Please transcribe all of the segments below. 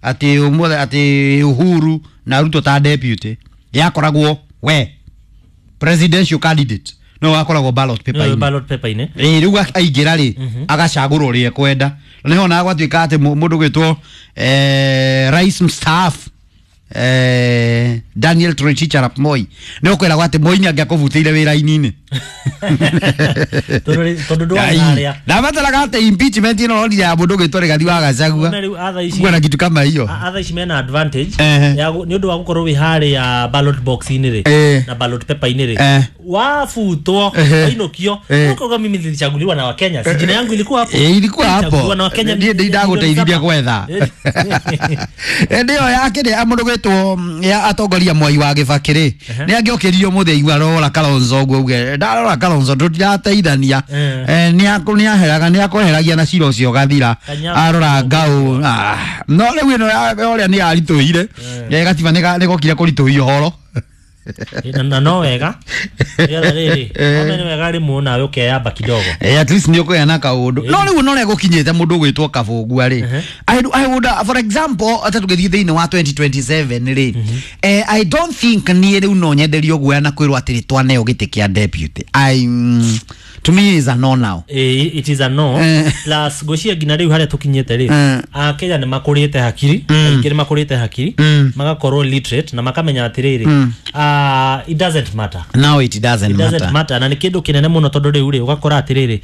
Ati umuothe ati Uhuru na Ruto ta deputy yakoragwo we presidential candidate no wakoragwo ballot paper No, inĩ. ballot paper inĩ. Ĩĩ, rĩu aingĩra rĩ, agacagũra ũrĩa ekwenda. Na nĩho na gwatuĩka atĩ mũndũ gwĩtwo rais mstaafu Daniel Toroitich arap Moi nĩ ũkwĩragwo atĩ Moi nĩ angĩakũbutĩire wĩra-inĩ. Tondũ ndwarĩ harĩa. Ndabataraga atĩ impeachment ĩno ronire ya mũndũ gwĩtwo Rigathi wa Gachagua. Na rĩu atha ici Kuwa na kitu kama hiyo. Atha ici mena advantage Ehe. ya nĩ ũndũ wa gũkorwo wĩ harĩa ballot box-inĩ rĩ na ballot paper-inĩ rĩ, wabutwo, wainũkio, ũkauga, "Mimi nilichaguliwa na Wakenya, si jina yangu ilikuwa hapo?" Eh, ilikuwa hapo. Nilichaguliwa na Wakenya Ndiĩ ndagũteithirie gwetha. Ĩndĩ ĩyo yakĩrĩ mũndũ gwĩtwo ya atongoria Mwai wa Gĩbakĩ rĩ, nĩ angĩokĩrio mũthĩ aigua rora Kalonzo ũguo uge ndarora Kalonzo tũtirateithania. Nĩ nĩ akweheragia na cira ũcio ũgathira. Kanyama. Arora ngau, no rĩu ĩno ũrĩa nĩ yaritũhire. Gatiba nĩ gokire kũritũhia ũhoro. Na no wega nĩgetha rĩrĩ ome nĩ wega rĩmwe nawe ũkeyamba kidogo. At least nĩ ũkũgĩa na kaũndũ, no rĩu no ũrĩa gũkinyĩte mũndũ ũgwĩtwo Kabũngua rĩ, I would, for example, ata tũgĩthiĩ thĩinĩ wa 2027 rĩ, I don't think niĩ rĩu no nyenderio guoya na kwĩrwo atĩrĩ twaneo gĩtĩ kĩa deputy. To me is a no now. It is a no. Plus ngwĩciria nginya rĩu harĩa tũkinyĩte rĩ, Akenya nĩ makũrĩte hakiri, aingĩ nĩ makũrĩte hakiri, magakorwo literate na makamenya atĩrĩrĩ, it doesn't matter. Now it doesn't It doesn't matter. matter, na nĩ kĩndũ kĩnene mũno tondũ rĩu rĩ ũgakora atĩrĩrĩ,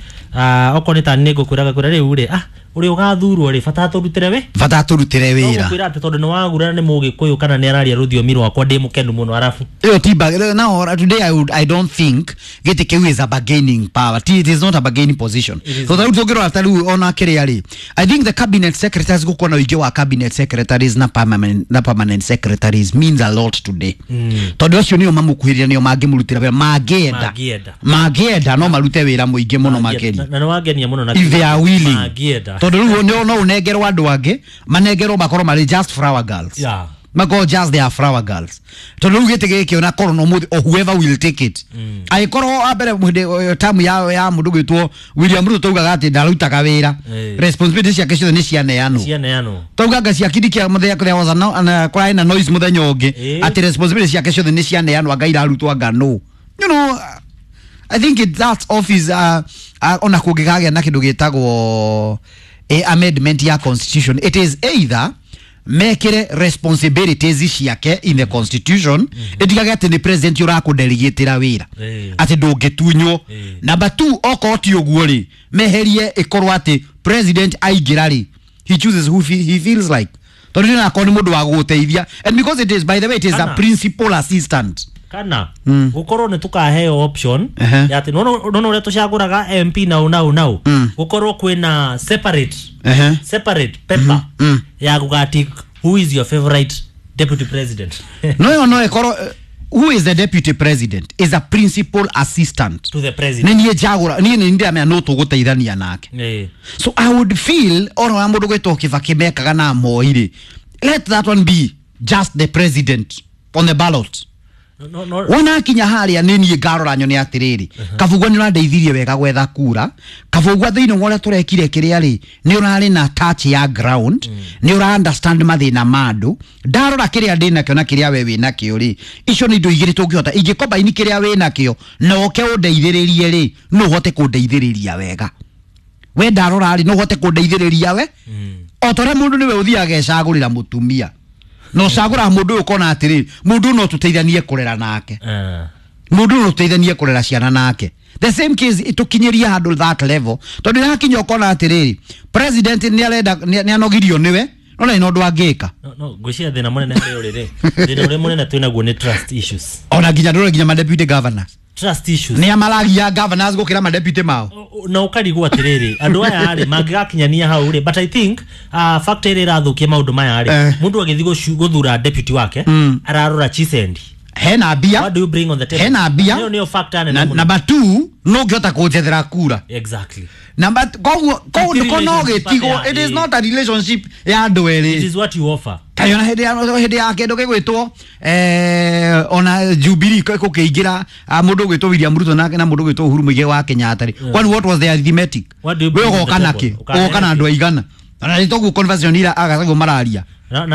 okorwo nĩ ta nĩ ngũkwĩraga kwĩra rĩu rĩ, ũrĩa ũgathurwo rĩ, bata tũrutĩre we Bata tũrutĩre No wĩra. gũkwĩra atĩ tondũ nĩ wagurana nĩ mũgĩkũyũ kana nĩ araria rũthiomi rwakwa, ndĩ mũkenu mũno, arabu Ĩyo ti now today I don't think gĩtĩ kĩu is a bargaining power. It is not a bargaining position. It is So rĩu tũngĩrora ta rĩu ona kĩrĩa rĩ, I think the cabinet secretaries, gũkorwo na ũingĩ wa cabinet secretaries na permanent secretaries means a lot today, tondũ acio nĩo mamũkuhĩrĩria, nĩo mangĩmũrutĩra wĩra mangĩenda. Mangĩenda. Mangĩenda no marute wĩra mũingĩ mũno makĩria. Na nĩ wangenia mũno na If they are willing. Mangĩenda. Tondũ rĩu no ũnengerwo andũ angĩ manengerwo makorwo marĩ just flower girls, makorwo just they are flower girls, tondũ rĩu gĩtĩ gĩkĩ ona korwo no mũthĩ or whoever will take it, angĩkorwo wa mbere hĩndĩ tamu ya mũndũ gwĩtwo William Ruto taugaga atĩ ndarutaga wĩra, responsibility ciake ciothe nĩ cianeanwo. Cianeanwo. Taugaga cia kindi kia mũthenya there was a no, na kũrarĩ na noise mũthenya ũngĩ atĩ responsibility ciake ciothe nĩ cianeanwo, anga irarutwo anga no I think that office, ona kũngĩkagĩa na kĩndũ gĩtagwo amendment ya constitution, it is either mekĩre responsibilities ciake in the constitution, ĩtigage atĩ nĩ president ũrakũdelegĩtĩra wĩra, atĩ ndũngĩtunywo. Number two, okorwo ti ũguo rĩ, meherie ĩkorwo atĩ president aingĩra rĩ, he chooses who he feels like, tondũ nĩ akorwo nĩ mũndũ wa gũgũteithia, and because it is, by the way, it is a Kana. principal assistant. Kana gukorwo nĩ tukaheo option ya atĩ nona ũrĩa tũcagũraga MP nau nau nau, gukorwo kwĩna separate separate paper ya gũgatick who is your favorite deputy president. No ĩkorwo who is the deputy president is a principal assistant to the president. Nĩ niĩ njagũra, niĩ nĩ ndĩramenya no tũgũteithania nake. So I would feel ona wa mũndũ gwĩtwo Kibaki mekaga na Moi rĩ, let that one be just the president on the ballot. No. Wona akinya harĩa nĩ niĩ ngarora nyone atĩrĩrĩ, Kabugua nĩ ũrandeithirie wega gwetha kura, Kabugua thĩinĩ wa ũrĩa tũrekire kĩrĩa rĩ, nĩ ũrarĩ na touch ya ground, nĩ ũra understand mathĩna ma andũ. Ndarora kĩrĩa ndĩ nakĩo na kĩrĩa we wĩ nakĩo rĩ, icio nĩ indo igĩrĩ tũngĩhota ingĩkombaini kĩrĩa wĩ nakĩo na ũke ũndeithĩrĩrie rĩ, no ũhote kũndeithĩrĩria wega. We ndarora rĩ, no ũhote kũndeithĩrĩria we o ta ũrĩa mũndũ nĩwe ũthiaga ecagũrĩra mũtumia na ũcagũraga mũndũ ũyũ ũkona atĩrĩrĩ, mũndũ ũyũ no tũteithanie kũrera nake, mũndũ ũyũ no tũteithanie kũrera ciana nake. The same case ĩtũkinyĩrie handũ that level, tondũ ĩrakinya ũkona atĩrĩrĩ, president nĩ arenda nĩ anogirio nĩwe, no nĩ na ũndũ angĩka. No ngwĩciria thĩna mũnene harĩ ũrĩ rĩ, thĩna ũrĩa mũnene twĩnaguo nĩ trust issues. Ona nginya ndũrore nginya ma deputy governors. Trust issues. Nĩ amaragia governors gũkĩra ma deputy mao. Na ũkarigwo atĩrĩrĩ, andũ aya rĩ mangĩgakinyania hau rĩ? But I think factor ĩrĩa ĩrathũkia maũndũ maya rĩ, mũndũ agĩthiĩ gũthura deputy wake ararora chisendi. Hena mbia. What do you bring on the table? Hena mbia. Nĩyo factor nene Na mũno. number two, no ngĩhota kũnjethera kura. Number koguo Ti ko no relationship gĩtigwo. atĩa, It is ĩ. not a relationship ya andũ It erĩ. is what you offer. Kaĩ ona hĩndĩ ya kĩndũ gĩgwĩtwo ona Jubilee gũkĩingĩra, mũndũ ũgwĩtwo William Ruto na mũndũ ũgwĩtwo Uhuru Muigai wa Kenyatta rĩ, kwani what was the arithmetic? What do you We bring on ũgoka the nakĩ? table? Ũkarehe Ũgoka na kĩ? andũ aigana? Ona nĩ toguo conversation ira agacagwo mararia.